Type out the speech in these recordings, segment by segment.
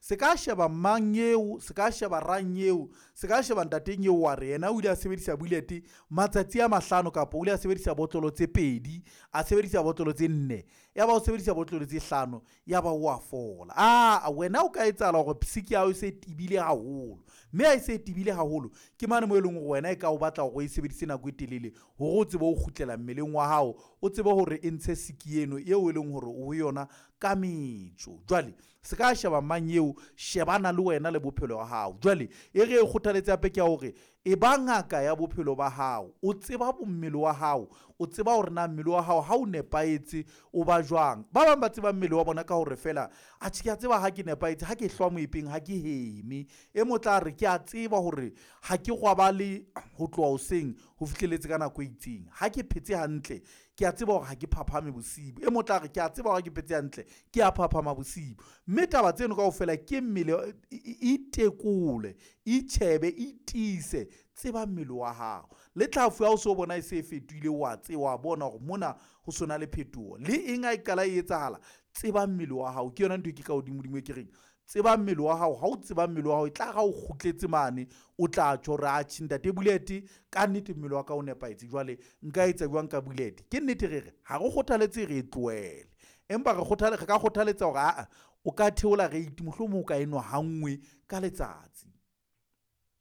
Se ka sheba mang eo, se ka sheba rang eo, se ka sheba ntateng eo wa re yena o ile a sebedisa bullet matsatsi a 5, kapa o ile a sebedisa botlolo tse 2, a sebedisa botlolo tse 4, ya ba o sebedisa botlolo tse 5, ya ba o a fola. Aa wena o ka etsahala hore siki ya hao e se tebile haholo, mme ha e se tebile haholo ke mane moo e leng hore wena e ka o batla hore o e sebedise nako e telele hore o tsebe ho kgutlela mmeleng wa hao, o tsebe hore e ntshe siki eno eo e leng hore o yona ka metso. Jwale se ka sheba mang eo, shebana le wena le bophelo ba hao. Jwale e re e kgothaletse hape ke ya hore e ba ngaka ya bophelo ba hao, o tseba mmele wa hao, o tseba hore na mmele wa hao ha o nepahetse o ba jwang. Ba bang ba tseba mmele wa bona ka hore feela atjhe ke a tseba ha ke nepahetse, ha ke hlwa moepeng ha ke heme. E mong o tla re ke a tseba hore ha ke robale ho tloha hoseng ho fihlelletse ka nako e itseng, ha ke phetse hantle ke a tseba hore ha ke phaphame bosibu. E mong o tla re ke a tseba hore ha ke phetse hantle ke a phaphama bosibu. Mme taba tseno kaofela ke mmele, itekole, itjhebe, itiise, tseba mmele wa hao. Le tlhafu ha o so bona e se e fetohile, wa tseba, wa bona hore mona ho sona le phetoho. Le eng ha e qala e etsahala, tseba mmele wa hao. Ke yona ntho e ke ka hodimodimo e ke reng tseba mmele wa hao. Ha o tseba mmele wa hao, e tla re ha o kgutletse mane, o tla tjho hore atjhe ntate Bullet ka nnete mmele wa ka o nepahetse. Jwale nka etsa jwang ka Bullet? Ke nnete re re ha re kgothaletse re e tlohele, empa re re ka kgothaletsa hore aa o ka theola rate, mohlomong o ka enwa ha nngwe ka letsatsi.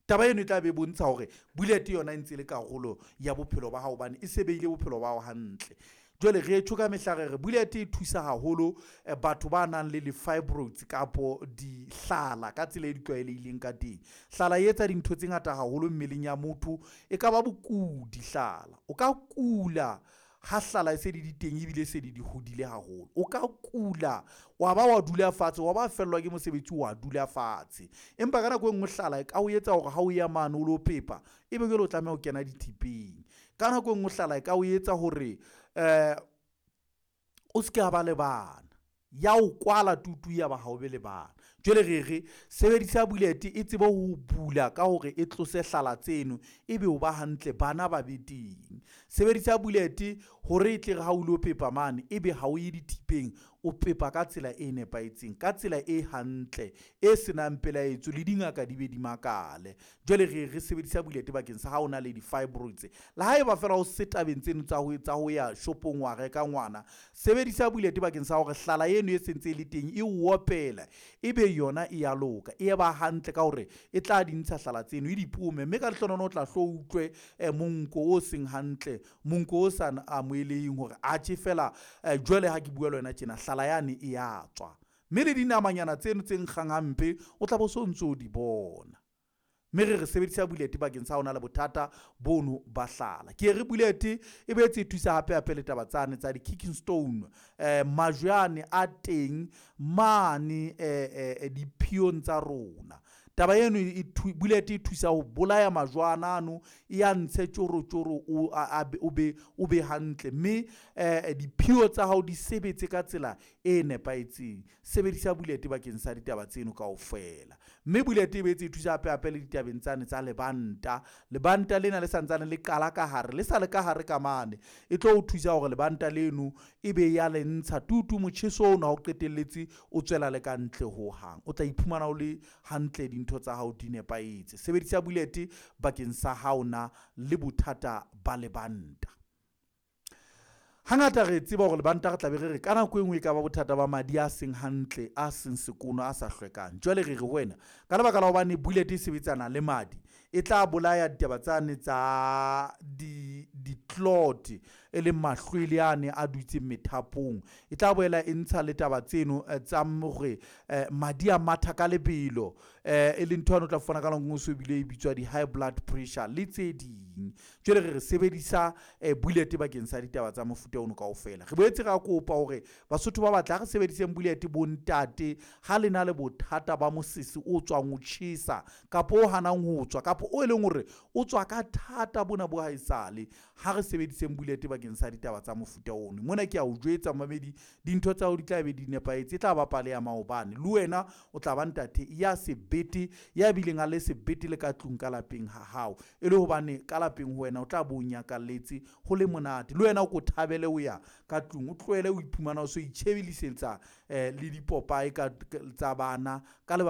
Taba eno e tla be e bontsha hore Bullet yona e ntse e le karolo ya bophelo ba hao, hobane e se behile bophelo ba hao hantle. Jwale re tjho ka mehla re re Bullet e thusa haholo batho ba nang le di-fibroids kapo dihlala ka tsela e di tlwaelehileng ka teng. Hlala e etsa dintho tse ngata haholo mmeleng ya motho, e ka ba bokudi hlala. O ka kula ha hlala e se di teng ebile se di hodile haholo. O ka kula wa ba wa dula fatshe, wa ba fellwa ke mosebetsi wa dula fatshe. Empa ka nako e nngwe hlala e ka o etsa hore ha o ya mane o lo pepa, ebe jwale o tlameha ho kena dithepeng. Ka nako e nngwe hlala e ka o etsa hore o se ke ba le bana, ya o kwala tutu ya ba ha o be le bana. Jwale re re sebedisa Bullet e tsebe ho bula ka hore e tlose hlala tseno, ebe o ba hantle, bana ba be teng. Sebedisa Bullet hore e tle re ha o lo pepa mane, ebe ha o ye dithipeng, o pepa ka tsela e nepahetseng, ka tsela e hantle, e senang pelaetso le dingaka di be di makale. Jwale re re sebedisa Bullet bakeng sa ha o na le di-fibroids. Le haeba feela o se tabeng tseno tsa ho ya shopong wa reka ngwana, sebedisa Bullet bakeng sa hore hlala eno e sentse e le teng e o opela, ebe yona e ya loka, e ba hantle ka hore e tla di ntsha hlala tseno, e di pome. Mme ka lehlohonolo o tla hlo utlwe monko o seng hantle, monko o sa amoheleheng hore atjhe feela jwale ha ke bua le wena tjena hlala yane e ya tswa. Mme le dinamanyana tseno tse nkgang hampe o tla bo so ntso di bona. Mme re re sebedisa Bullet bakeng sa ho na le bothata bono ba hlala. Ke re Bullet e boetse e thusa hape hape le taba tsane tsa di-kicking stone, majwe ane a teng mane diphiong tsa rona. Taba eno Bullet e thusa ho bolaya majwana ano, e ya ntshe tjorotjoro o be hantle. Mme diphio tsa hao di sebetse ka tsela e nepahetseng. Sebedisa Bullet bakeng sa ditaba tseno kaofela. Mme Bullet e boetse e thusa hape hape le ditabeng tsane tsa lebanta. Lebanta lena le santsane le qala ka hare, le sa le ka hare ka mane, e tlo o thusa hore lebanta leno e be ya le ntsha tutu motjheso ono ha o qetelletse o tswela le ka ntle hohang. O tla iphumana o le hantle, dintho tsa hao di nepahetse. Sebedisa Bullet bakeng sa ha o na le bothata ba lebanta. Hangata re tseba hore lebanta re tla be re re ka nako e nngwe e ka ba bothata ba madi a seng hantle, a seng sekono, a sa hlwekang. Jwale re re ho wena ka lebaka la hobane Bullet e sebetsana le madi, e tla bolaya ditaba tsane tsa di-clot, e leng mahlwele ane a dutseng methapong. E tla boela e ntsha le taba tseno tsa hore madi a matha ka lebelo, e leng ntho yane o tla fumana ka nako e nngwe so bile e bitswa di-high blood pressure le tse ding. Jwale re re sebedisa Bullet bakeng sa ditaba tsa mofuta ono kaofela. Re boetse ra kopa hore Basotho ba batle ha re sebediseng Bullet bontate ha le na le bothata ba mosese o tswang o tjhesa, kapa o hanang ho tswa, kapa o leng hore o tswa ka thata bona bo haesale. Ha re sebediseng Bullet bakeng sa ditaba tsa mofuta ono. Mona ke a o jwetsa momamedi, dintho tsa hao di tla be di nepahetse, e tla ba pale ya maobane. Le wena o tla ba ntate ya sebete, ya bileng a le sebete le ka tlung ka lapeng ha hao, e le hobane ka lapeng ho wena o tla bo o nyakalletse ho le monate. Le wena o ko thabele ho ya ka tlung, o tlohele ho iphumana o so itjhebelisetsa le dipopae ka tsa bana ka lebaka.